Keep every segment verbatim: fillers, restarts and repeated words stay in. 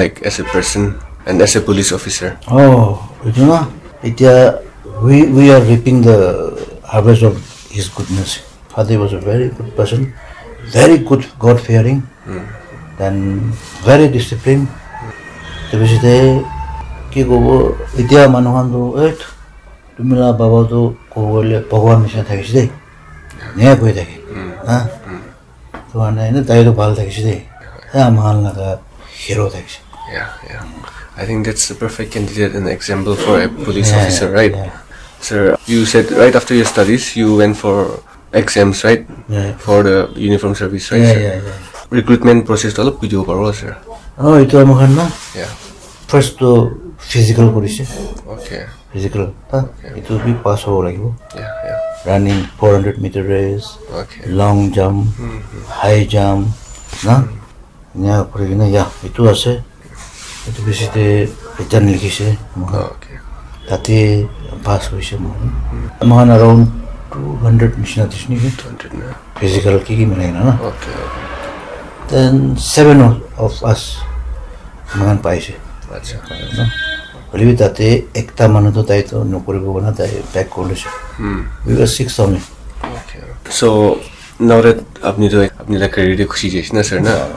like as a person and as a police officer? Oh, you know, Itya, we, we are reaping the harvest of his goodness. Father was a very good person, very good, God fearing, then very disciplined. Te bishi te ki kobo, itya manu khan tu, eh, tumila baba tu kobo le Bhagwan nisina thakishe de. Nya koi thake. Ha? To ane ene tai to bhal thakishe de. He ama khan laga hero thakishe. Yeah, yeah. I think that's the perfect candidate and example for a police Yeah, officer, yeah, right? Yeah. Sir, you said right after your studies, you went for exams, right? Yeah. For the uniform service, right, Yeah, sir? Yeah, yeah. Recruitment process to alop video paro, sir. Oh, itu ama khan na? Yeah. First to physical korise. Okay. Physical, ha? Okay. Itu bi pass hobo lagibo. Yeah, yeah. Running four hundred meter race, Okay. long jump, Mm-hmm. high jump, na? Nya kuri kena, ya, itu ase. Itu bishi te return likhise. Oh, okay. Tate pass hoise moi. Mohan around two hundred nishina dise niki. Two hundred na? Physical ki ki milai na na. Okay, okay. Then seven of, of us mohan paise. Acha. Na? Hoilebi tate ekta manu to tai to nokoribo na tai back kori loise. Hmm. We were six only. Okay. So, now that apni to apni la career te khushi jaise na, sir, na?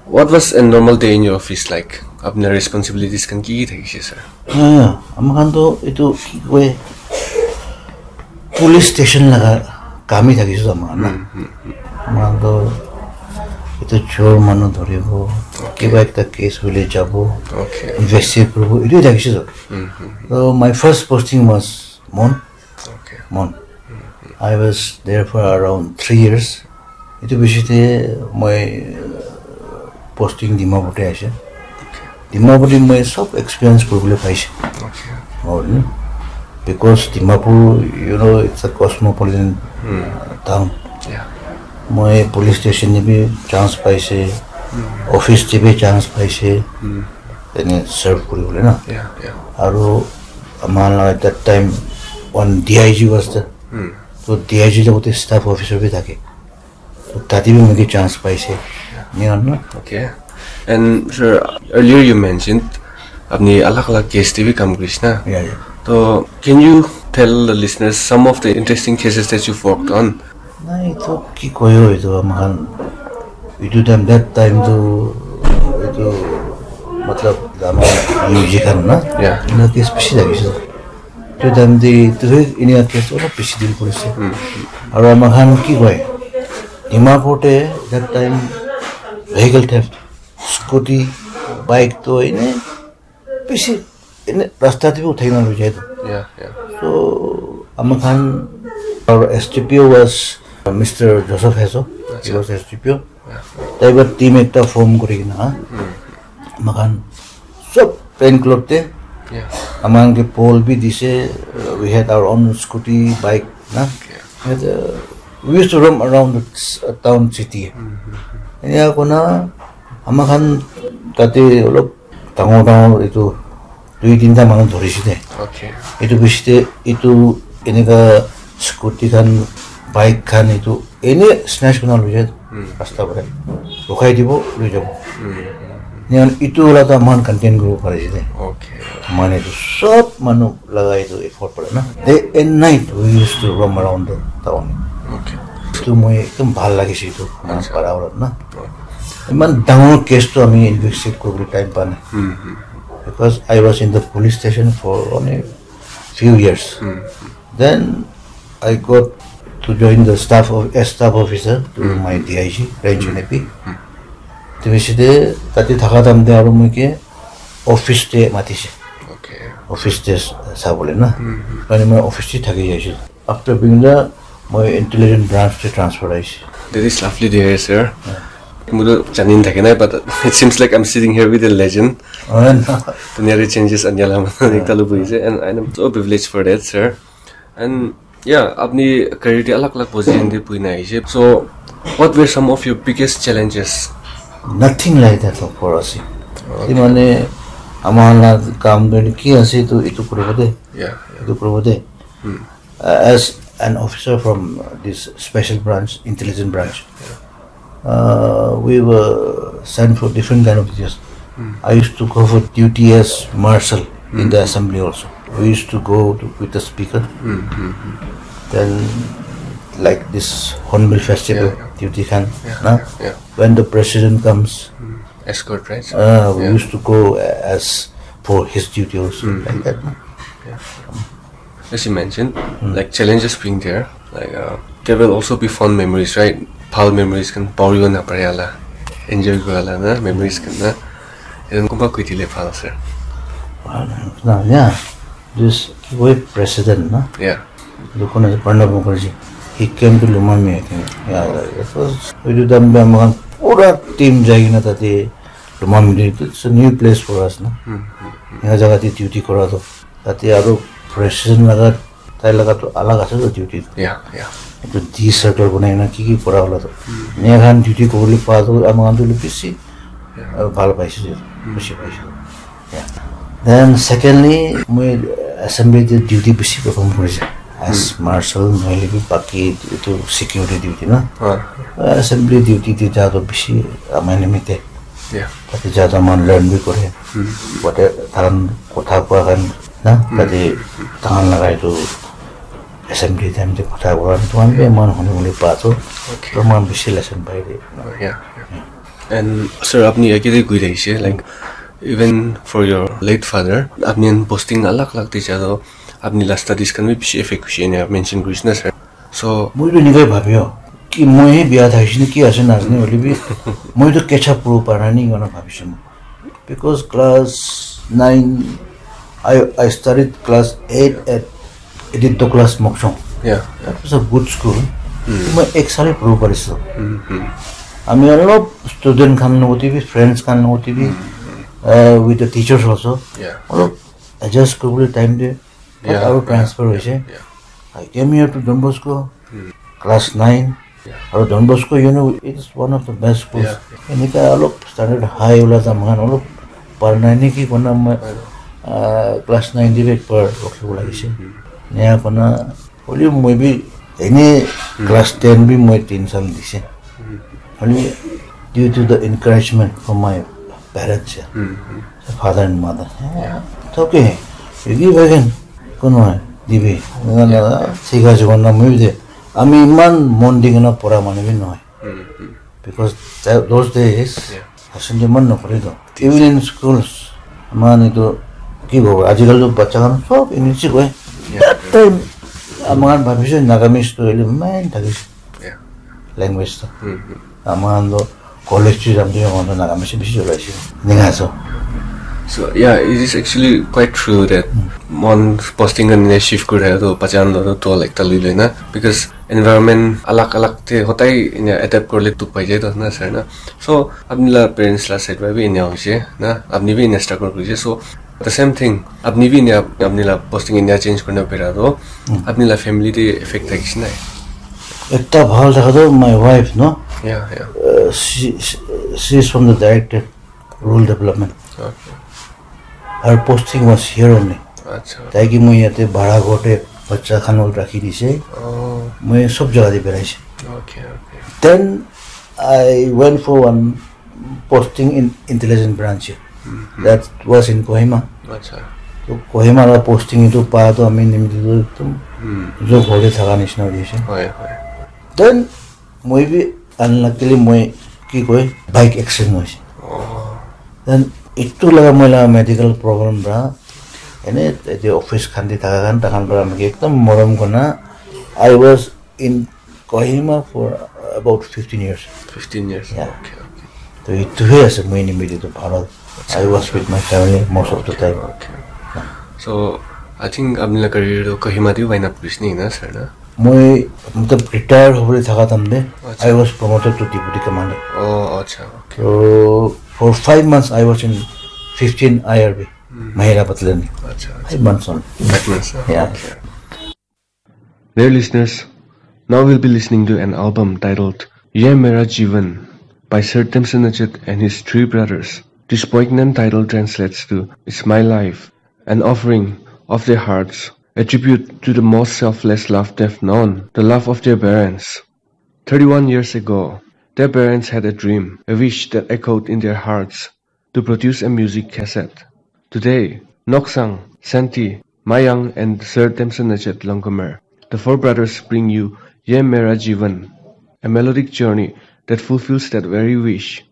What was a normal day in your office like? Apni la responsibilities khan ki ki thakise, sir? Ah, ama khan to itu ki koi, police station laga kam hi thakise to ama khan na. Ama khan to itu chor manu dhoribo, Okay. kiba ekta case hoile jabo, Okay. investigate kuribo, itu thakise to. Mm-hmm. So my first posting was Mon. Okay. Mon. I was there for around three years. Itu bishi te moi, uh, posting Dimapur te ase. Okay. Dimapur te moi sob experience kuribole paise. Okay. Aru, because Dimapur, you know, it's a cosmopolitan, Hmm. uh, town. Yeah. Moi police station te bi chance paise, Hmm. office te bi chance paise, Hmm. ene serve kuribole na. Yeah, yeah. Aru ama la that time one D I G was there. Hmm. So D I G logote staff officer bi thake. So tate bi moi ke chance paise. Enia na. Okay. And sir, earlier you mentioned apni alag alag case te bi kam kurise na. Yeah, yeah. So can you tell the listeners some of the interesting cases that you've worked on? Nai, itu ki koyo itu ama khan. Itu time, that time tu itu matlab ama U G khan na. Yeah. Ena case bishi thakise. Itu time te itu he enia case olop bishi deal kurise. Hmm. Aru ama khan ki koi, Dimapur te that time vehicle theft, scooty, bike to ene bishi ene rasta te bi uthai na loi jai to. Yeah, yeah. So ama khan, our S D P O was, uh, Mister Joseph Hezo. He Acha. was S D P O. Yeah. Tai para team ekta form kuri kena, Hmm. ama khan sob plain cloth te, Yeah. ama khan ke pole bi dise, uh, we had our own scooty, bike, na? Okay. And, uh, we used to roam around the s-, town, city. Mm-hmm. Enia kona ama khan tate olop dangor dangor itu dui tinta manu dhorise de. Okay. Itu bishi te itu eneka scooty khan, bike khan itu ene snatch kurina loi jai Hmm. rasta para. Rukhai dibo, loi jabo. Hmm. Enia itu wala ta mohan contain kuribo parise de. Okay. Mane itu sob manu laga itu effort para na. Day and night we used to roam around the town. Okay. Itu moi ekdom bhal lagise itu, mohan Acha. para wala na. Okay. Iman dangor case to ami investigate kuribole time pa nai. Hmm, hmm. Because I was in the police station for only few years. Hmm. Then I got to join the staff of, as staff officer to Hmm. my D I G, Range Hmm. N A P. Hmm. Te bishi te tate thaka time te aru moi ke office te matise. Okay. Office te s-, sabole na. Hmm. Karne moi office te thaki jaise. After being the, moi intelligence branch te transfer aise. That is lovely to hear, sir. Yeah. Moi to jani thake nai, but it seems like I'm sitting here with a legend. Oh, no. Dunia te changes ania la manu ekta lo buhi ase, and I'm so privileged for that, sir. And yeah, apni career te alag alag position te buhi na aise. So, what were some of your biggest challenges? Nothing like that for us. Okay. Ki mane, ama la kam tu ki ase tu itu kuribo de. Yeah, yeah. Itu kuribo de. Hmm. Uh, as an officer from, uh, this special branch, intelligence branch, uh, we were sent for different kind of duties. I used to go for duty as marshal in the assembly also. We used to go to, with the speaker. Then, like this Hornbill Festival, Yeah, yeah. Duty Khan, Yeah, na? Yeah. When the president comes, Escort, right? uh, we Yeah. used to go as for his duty also, like that. Na? Yeah. As you mentioned, like challenges being there, like uh, there will also be fond memories, right? Bhal memories kan pauri na pare ala, enjoy kura la na memories kan na. Etu kumba koi dile bhal ase. Na, yeah, this ki koi president na, Yeah. etu kon ase, Pranab Mukherjee. He came to Lumami, I think. Yeah, yeah, it was, etu time te ami khan pura team jai kena tate Lumami te, it's a new place for us na. Enika jaga te duty kora to. Tate aru president laga, tai laga to alag ase to duty. Yeah, yeah. Etu D circle banai na ki ki kora hola to. Enika khan duty kobole pa to ami khan to bisi, uh, bhal paise, khushi paise. Yeah. Then secondly, moi assembly te duty bisi perform korise. As marshal, nohole bi baki etu security duty na. Ah, Assembly duty te ja to bisi amai nimite. yeah. Tate ja to man learn bi kore. Wate tahan kotha koa khan na, tate tahan laga etu assembly time te kotha koa khan, to man bi man hone hone pa to. Okay. To man bisi lesson pai de. Oh, yeah, yeah. And sir, apni yate koi thakise, like even for your late father, apni khan posting alag alag te ja to apni la studies kan bi bishi affect hoise ena mention korise na sir. So Moi to nikai bhabio ki moi he bia thaise ne ki ase na ase ne hoile bi moi to catch up koribo para nai kona bhabise moi. Because class nine, I, I started class eight at Edith Douglas Mokshong. Yeah. That was a good school. Moi ek sal poribo parise. Ami olop student khan logote bi, friends khan logote bi, uh, with the teachers also. Yeah. Olop adjust koribole time de, Yeah, aru yeah, transfer yeah, hoise. Yeah. I came here to Don Bosco, class nine. Aru Don Bosco, you know, it's one of the best schools. Yeah. Enika olop standard high ula ta moikhan olop par nai neki kona moi, uh, class nine de bi ekbar rokhibo lagise. Enia kona, hoile moi bi ene class ten bi moi tin sal dise. Hoile due to the encouragement from my parents, yeah. Father and mother. Yeah, it's okay. You give again. Kono hai, dibi. Eneka na, sikha jibon na moi bi de. Ami iman mon di kena pora manu bi nohoi. Because tha- those days, Yeah. asan de man nokore to. Even in schools, man itu ki hobo, ajikal to bacha khan sob English koi. That time, amar bhabise Nagamese to ele main thakise. Yeah. Language to. Mm-hmm. Amar to college to jam to amar to Nagamese bishi cholaise. Ninga so. So yeah, it is actually quite true that mon posting kan shift kuri thaka to bacha khan to tol ekta lui loi na, because environment alag alag te hotai ena adapt korle dukh pai jai to na sir na. So apni la parents la side para bi ena hoise na, apni bi ena struggle korise. So the same thing, apni bi ena apni la posting ena change kurina pera to apni la family te effect thakise nai? Ekta bhal thaka to my wife, no? Yeah, yeah. Uh, she, she, she is from the director rural development. Okay. Her posting was here only. Acha. Tai ki moi yate bhara ghor te bacha khan rakhi dise. Oh, Moi sob jaga te beraise. Okay, okay. Then I went for one posting in intelligence branch. That was in Kohima. Acha. So Kohima la posting itu pa to ami nimite to ekdom Hmm. jo ghor te thaka nishina hoise. Hoi, hoi. Then moi bi unluckily moi ki koi bike accident hoise. Oh. Then itu laga moi la medical problem pra ene ete office khan te thaka khan takhan pra ami ekdom morom kona. I was in Kohima for about fifteen years. Fifteen years. Yeah. Okay, okay. To itu he ase moi nimite to bhal. I was with my family most of the time. Okay. So I think apni la career to Kohima te wind up kurise ni na sir na? Moi matlab retire hobole thaka time te Acha. I was promoted to deputy commander. Oh, acha. Okay. So for five months I was in fifteen I R B, Mahila Battalion. Acha. Five months only. That means, uh, Yeah. Okay. Dear listeners, now we'll be listening to an album titled Ye Mera Jeevan by Sir Timson Nachit and his three brothers. This poignant title translates to It's My Life, an offering of their hearts, a tribute to the most selfless love they've known, the love of their parents. Thirty-one years ago, their parents had a dream, a wish that echoed in their hearts. to produce a music cassette. Today, Noksang, Santi, Mayang, and Sir Temson Nachet Langkomer, the four brothers bring you Ye Mera Jeevan, a melodic journey that fulfills that very wish.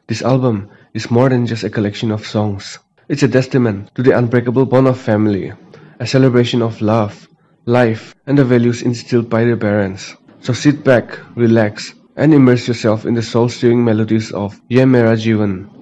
This album is more than just a collection of songs. It's a testament to the unbreakable bond of family, a celebration of love, life, and the values instilled by their parents. So sit back, relax, and immerse yourself in the soul-stirring melodies of Ye Mera Jeevan,